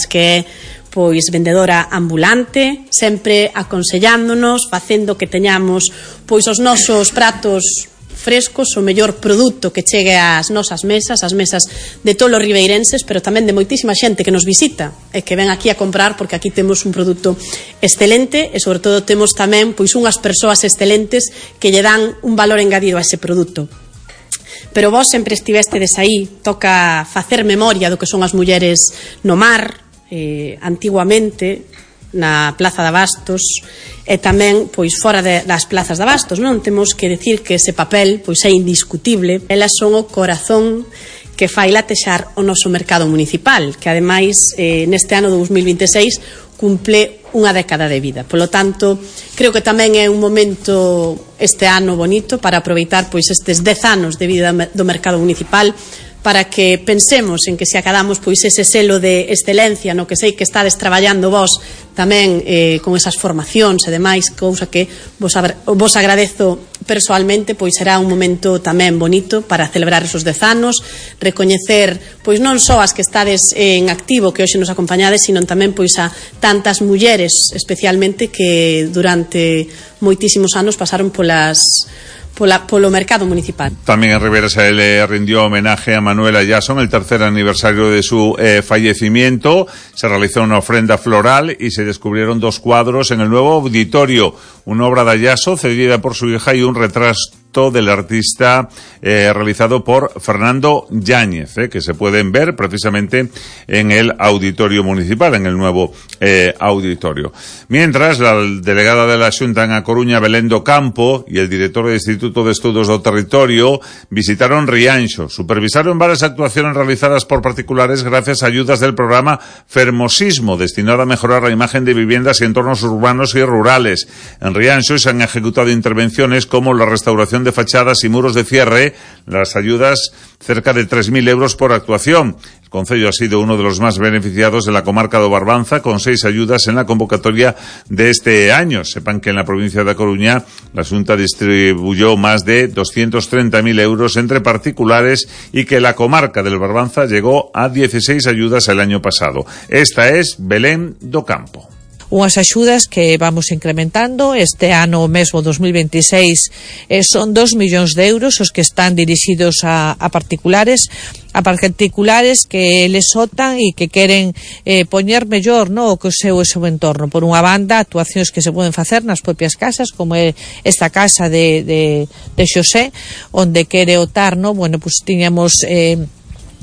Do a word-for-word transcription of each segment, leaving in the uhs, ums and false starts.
que é pois vendedora ambulante, sempre aconsellándonos, facendo que teñamos pois os nosos pratos frescos, o mellor produto que chegue ás nosas mesas, as mesas de todos os ribeirenses, pero tamén de moitísima xente que nos visita e que ven aquí a comprar, porque aquí temos un produto excelente e sobre todo temos tamén pois unhas persoas excelentes que lle dan un valor engadido a ese produto. Pero vos sempre estivestedes aí, toca facer memoria do que son as mulleres no mar, eh, antiguamente na Plaza de Abastos e tamén pois fora de, das plazas de Abastos, non? Temos que decir que ese papel pois é indiscutible. Elas son o corazón que fai latexar o noso mercado municipal, que ademais eh, neste ano dous mil vinte e seis cumple unha década de vida. Polo tanto, creo que tamén é un momento este ano bonito para aproveitar pois estes dez anos de vida do mercado municipal, para que pensemos en que se acadamos pois ese selo de excelencia no que sei que estades traballando vos tamén eh, con esas formacións e demais, cousa que vos, vos agradezo persoalmente, pois será un momento tamén bonito para celebrar esos dez anos, recoñecer pois non só as que estades en activo que hoxe nos acompañades, sino tamén pois a tantas mulleres especialmente que durante moitísimos anos pasaron polas Pola, polo mercado municipal. También en Ribera se le rindió homenaje a Manuel Ayaso en el tercer aniversario de su eh, fallecimiento. Se realizó una ofrenda floral y se descubrieron dos cuadros en el nuevo auditorio. Una obra de Ayaso cedida por su hija y un retrato del artista eh, realizado por Fernando Yáñez, eh, que se pueden ver precisamente en el auditorio municipal, en el nuevo eh, auditorio. Mientras, la delegada de la Xunta en A Coruña, Belén do Campo, y el director del Instituto de Estudos do Territorio visitaron Rianxo, supervisaron varias actuaciones realizadas por particulares gracias a ayudas del programa Fermosismo, destinado a mejorar la imagen de viviendas y entornos urbanos y rurales. En Rianxo se han ejecutado intervenciones como la restauración de fachadas y muros de cierre, las ayudas cerca de tres mil euros por actuación. El concello ha sido uno de los más beneficiados de la comarca do Barbanza, con seis ayudas en la convocatoria de este año. Sepan que en la provincia de A Coruña la Xunta distribuyó más de doscientos treinta mil euros entre particulares y que la comarca del Barbanza llegó a dieciséis ayudas el año pasado. Esta es Belén do Campo. Unhas axudas que vamos incrementando este ano mesmo dos mil veintiséis eh, son dos millóns de euros os que están dirixidos a, a particulares a particulares que les sotan e que queren eh, poñer mellor no, o que o seu, o seu entorno. Por unha banda, actuacións que se poden facer nas propias casas, como é esta casa de, de, de Xosé, onde quere otar, no? Bueno, pues tiñamos eh,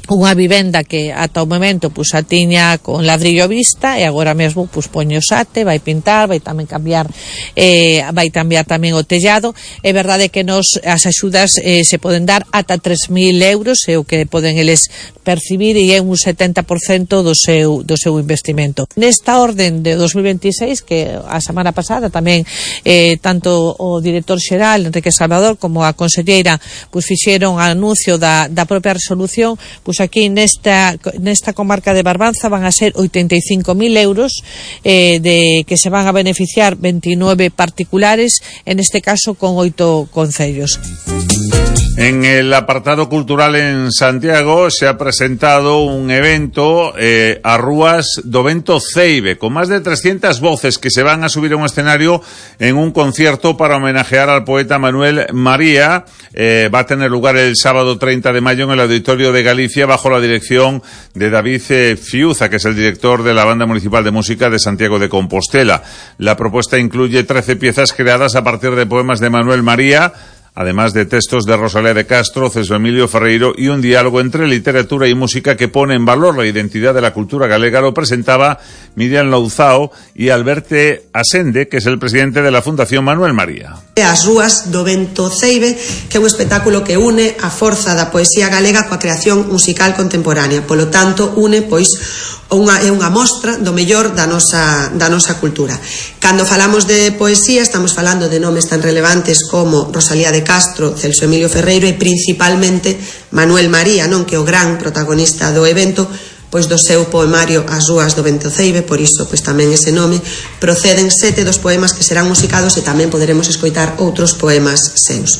unha vivenda que ata o momento pues, a tiña con ladrillo vista e agora mesmo pues, poño sate, vai pintar, vai tamén cambiar eh, vai cambiar tamén o tellado. É verdade que nos as axudas eh, se poden dar ata tres mil euros, é o que poden eles percibir e é un setenta por cento do seu, do seu investimento. Nesta orden de dos mil veintiséis, que a semana pasada tamén eh, tanto o director xeral Enrique Salvador como a conselleira pues, fixeron anuncio da, da propia resolución, pues, aquí nesta, nesta comarca de Barbanza van a ser oitenta e cinco mil euros eh, de que se van a beneficiar veintinueve particulares, en este caso con oito concellos. En el apartado cultural en Santiago se ha presentado un evento eh, a rúas do Vento Ceibe, con más de trescientas voces que se van a subir a un escenario en un concierto para homenajear al poeta Manuel María. Eh, va a tener lugar el sábado treinta de mayo en el Auditorio de Galicia, bajo la dirección de David eh, Fiuza, que es el director de la Banda Municipal de Música de Santiago de Compostela. La propuesta incluye trece piezas creadas a partir de poemas de Manuel María, además de textos de Rosalía de Castro, César Emilio Ferreiro y un diálogo entre literatura y música que pone en valor la identidad de la cultura galega. Lo presentaba Miriam Louzao y Alberte Asende, que es el presidente de la Fundación Manuel María. As rúas do Vento Ceibe, que é un espectáculo que une a forza da poesía galega coa creación musical contemporánea. Polo tanto, une, pois, unha, é unha mostra do mellor da nosa, da nosa cultura. Cando falamos de poesía, estamos falando de nomes tan relevantes como Rosalía de Castro, Celso Emilio Ferreiro e principalmente Manuel María, non, que é o gran protagonista do evento, pois do seu poemario As rúas do Vento Ceibe, por iso pois tamén ese nome, proceden sete dos poemas que serán musicados e tamén poderemos escoitar outros poemas seus.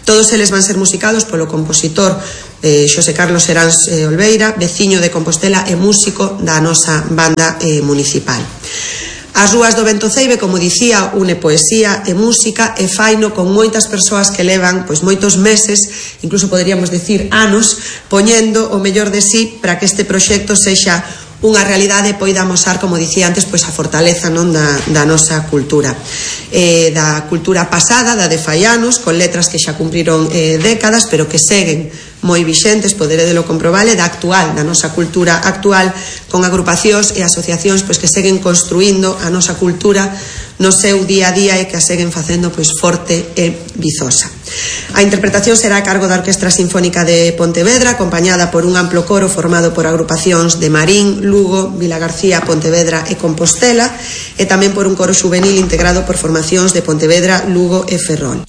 Todos eles van ser musicados polo compositor eh, Xosé Carlos Seráns eh, Olveira, veciño de Compostela e músico da nosa banda eh, municipal. As rúas do Vento Ceibe, como dicía, une poesía e música e faino con moitas persoas que levan pois moitos meses, incluso poderíamos decir anos, poñendo o mellor de sí para que este proxecto sexa unha realidade e poida amosar, como dicía antes, pois a fortaleza non da, da nosa cultura. Eh, da cultura pasada, da de fai anos, con letras que xa cumpriron eh, décadas, pero que seguen moi vixentes, poderedelo comprobale, da actual, da nosa cultura actual, con agrupacións e asociacións pois que seguen construindo a nosa cultura no seu día a día e que a seguen facendo pois forte e vizosa. A interpretación será a cargo da Orquestra Sinfónica de Pontevedra, acompañada por un amplo coro formado por agrupacións de Marín, Lugo, Vilagarcía, Pontevedra e Compostela, e tamén por un coro juvenil integrado por formacións de Pontevedra, Lugo e Ferrol.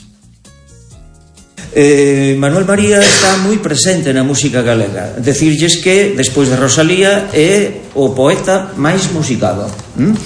Eh, Manuel María está moi presente na música galega. Decirlles que, despois de Rosalía, é o poeta máis musicado. ¿Mm?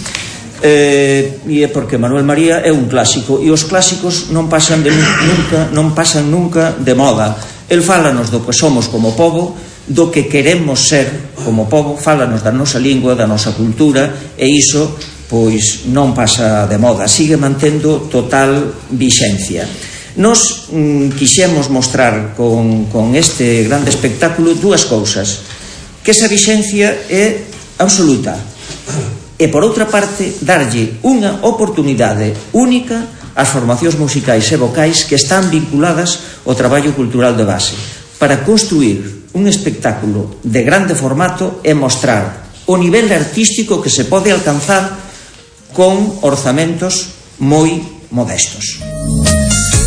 Eh, e é porque Manuel María é un clásico, e os clásicos non pasan de nunca, non pasan nunca de moda. El fálanos do que somos como pobo, do que queremos ser como pobo, fálanos da nosa lingua, da nosa cultura, e iso pois non pasa de moda, sigue mantendo total vixencia. Nos mm, quixemos mostrar con, con este grande espectáculo dúas cousas: que esa vixencia é absoluta, e por outra parte darlle unha oportunidade única ás formacións musicais e vocais que están vinculadas ao traballo cultural de base, para construir un espectáculo de grande formato e mostrar o nivel artístico que se pode alcanzar con orzamentos moi modestos.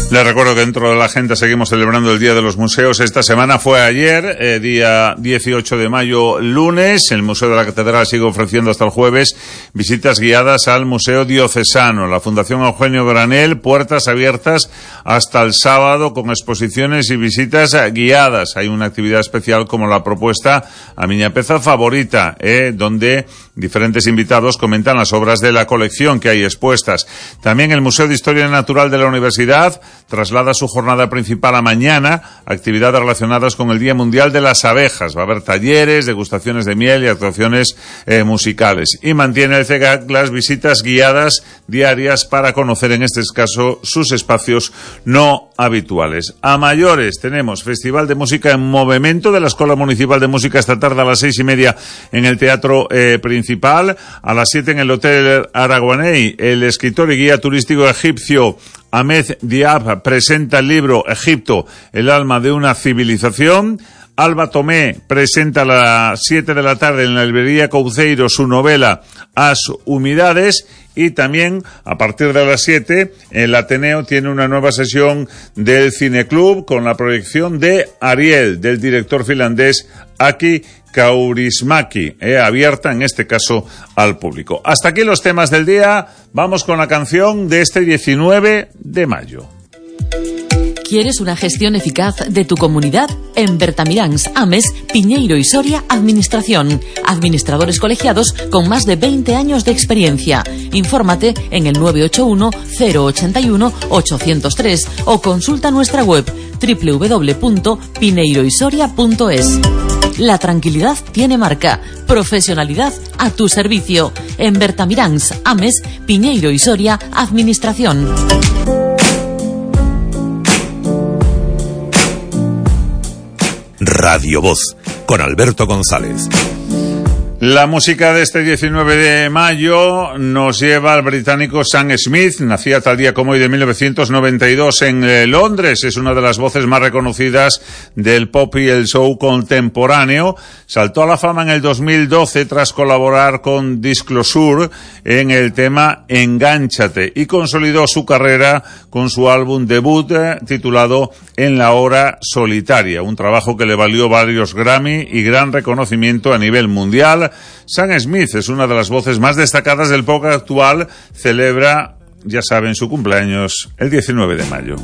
Les recuerdo que dentro de la agenda seguimos celebrando el Día de los Museos. Esta semana fue ayer, eh, día dieciocho de mayo, lunes. El Museo de la Catedral sigue ofreciendo hasta el jueves visitas guiadas al Museo Diocesano. La Fundación Eugenio Granel, puertas abiertas hasta el sábado con exposiciones y visitas guiadas. Hay una actividad especial como la propuesta A Miña Peza Favorita, eh, donde diferentes invitados comentan las obras de la colección que hay expuestas. También el Museo de Historia Natural de la Universidad traslada su jornada principal a mañana, actividades relacionadas con el Día Mundial de las Abejas. Va a haber talleres, degustaciones de miel y actuaciones eh, musicales. Y mantiene el C E G A C las visitas guiadas diarias para conocer, en este caso, sus espacios no habituales. A mayores tenemos Festival de Música en Movimiento de la Escuela Municipal de Música esta tarde a las seis y media en el Teatro eh, Principal, a las siete en el Hotel Araguaney. El escritor y guía turístico egipcio Ahmed Diab presenta el libro Egipto, el alma de una civilización. Alba Tomé presenta a las siete de la tarde en la librería Couceiro su novela As Humidades. Y también, a partir de las siete, el Ateneo tiene una nueva sesión del Cineclub con la proyección de Ariel, del director finlandés Aki Kaurismäki, eh, abierta en este caso al público. Hasta aquí los temas del día. Vamos con la canción de este diecinueve de mayo. ¿Quieres una gestión eficaz de tu comunidad? En Bertamiráns, Ames, Piñeiro y Soria, Administración. Administradores colegiados con más de veinte años de experiencia. Infórmate en el nueve ocho uno, cero ocho uno, ocho cero tres o consulta nuestra web doble u doble u doble u punto pineiro y soria punto es. La tranquilidad tiene marca. Profesionalidad a tu servicio. En Bertamiráns, Ames, Piñeiro y Soria, Administración. Radio Voz, con Alberto González. La música de este diecinueve de mayo nos lleva al británico Sam Smith. Nacía tal día como hoy de mil novecientos noventa y dos en eh, Londres. Es una de las voces más reconocidas del pop y el soul contemporáneo. Saltó a la fama en el dos mil doce tras colaborar con Disclosure en el tema Engánchate y consolidó su carrera con su álbum debut eh, titulado En la hora solitaria, un trabajo que le valió varios Grammy y gran reconocimiento a nivel mundial. Sam Smith es una de las voces más destacadas del pop actual. Celebra, ya saben, su cumpleaños el diecinueve de mayo.